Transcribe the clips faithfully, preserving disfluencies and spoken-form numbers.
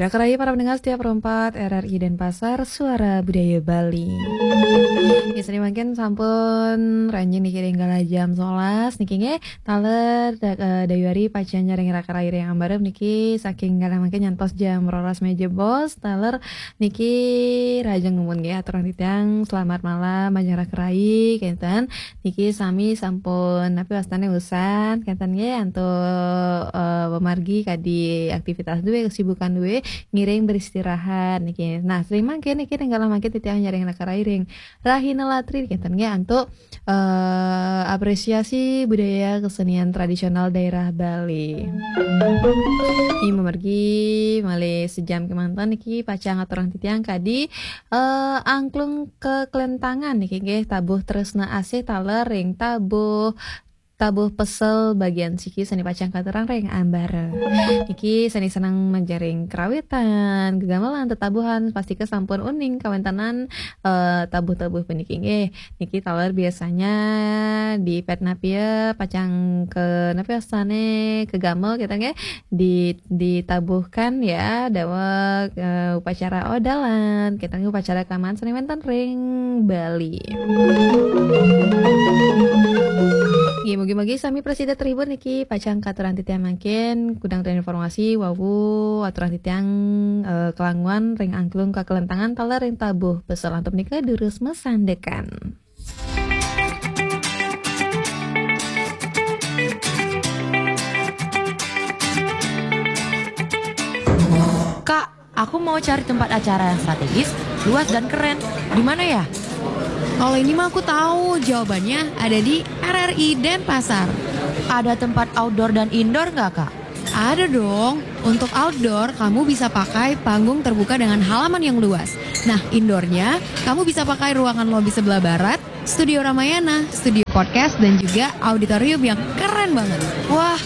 Raka rayi para pendengar setia Pro empat R R I Denpasar, Suara Budaya Bali. Ya, sané mangkin sampun ranjing niki ring galah jam sebelas niki nggih. Taler dak-, eh, dayuari pacang nyarengin raka rayi ring ambarep niki saking galah mangkin nyantos jam roras mejebos. Taler niki rahajeng nunas nggih aturang titiang selamat malam majeng raka rayi kenten. Niki sami sampun napi wastané usan kenten nggih antuk, eh, pamargi kadi aktivitas duwé, kesibukan duwé, ngiring beristirahat niki. Nah, sané mangkin niki ring galah mangkin titiang nyarengin raka rayi ring rahina latri kenten nggih antuk, eh, apresiasi budaya kesenian tradisional daerah Bali. Niki mamargi malih sejam kémanten niki pacang aturang titiang kadi, eh, angklung keklentangan niki nggih tabuh tresna asih taler ring tabuh, tabuh pesel bagian siki sané pacang katurang ring ambarep. Niki sané seneng majeng ring karawitan, gegamelan, tetabuhan, pastika sampun uning kawéntenan, eh, tabuh-tabuh puniki nggih. Niki taler biasanya di Petnapia pacang ke napi wastané kegamel kita nggih di, ditabuhkan ya daweg, eh, upacara odalan kita nggih upacara kelamaan sané wénten ring Bali. Nggih, mugi-mugi sami prasida terhibur niki pacang katurang titiang mangkin kudang informasi wau aturang titiang, eh, kelanguan ring angklung keklentangan taler ring tabuh pesel antuk nika durus masandekan. Kak, aku mau cari tempat acara yang strategis, luas dan keren. Di mana ya? Kalau ini mah aku tahu jawabannya ada di R R I Denpasar. Ada tempat outdoor dan indoor nggak, Kak? Ada dong. Untuk outdoor, kamu bisa pakai panggung terbuka dengan halaman yang luas. Nah, indoornya, kamu bisa pakai ruangan lobi sebelah barat, studio Ramayana, studio podcast, dan juga auditorium yang keren banget. Wah,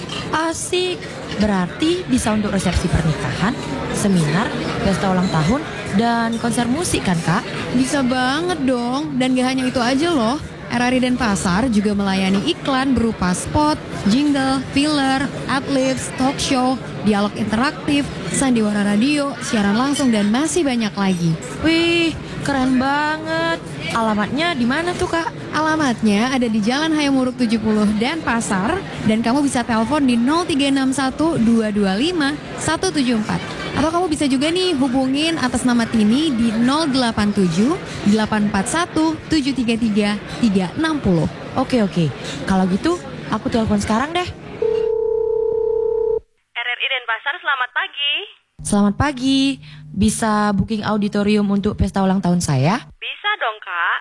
asik. Berarti bisa untuk resepsi pernikahan, seminar, pesta ulang tahun, dan konser musik kan, Kak? Bisa banget dong. Dan gak hanya itu aja loh. R R I Denpasar juga melayani iklan berupa spot, jingle, filler, adlibs, talk show, dialog interaktif, sandiwara radio, siaran langsung, dan masih banyak lagi. Wih, keren banget. Alamatnya di mana tuh, Kak? Alamatnya ada di Jalan Hayam Wuruk tujuh puluh Denpasar, dan kamu bisa telepon di nol tiga enam satu dua dua lima satu tujuh empat. Atau kamu bisa juga nih hubungin atas nama Tini di nol delapan tujuh delapan empat satu tujuh tiga tiga tiga enam nol. Oke, oke. Kalau gitu, aku telepon sekarang deh. R R I Denpasar, selamat pagi. Selamat pagi. Bisa booking auditorium untuk pesta ulang tahun saya? Bisa dong, Kak.